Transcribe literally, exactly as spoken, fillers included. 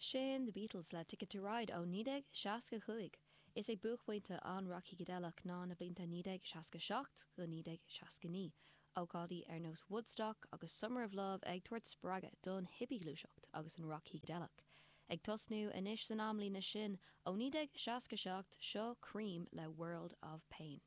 Sin The Beatles le Ticket to Ride ó naoi déag seasca cúig. Is é buaicphointe an rac shícideileach ná na blianta naoi déag seasca seacht go naoi déag seasca naoi, ócáidí ar nós Woodstock agus Summer of Love ag tabhairt spreagadh don hipighluaiseacht agus an rac shícideileach. Ag tosnú anois san amlíne sin ó naoi déag seasca seacht seo Cream le World of Pain.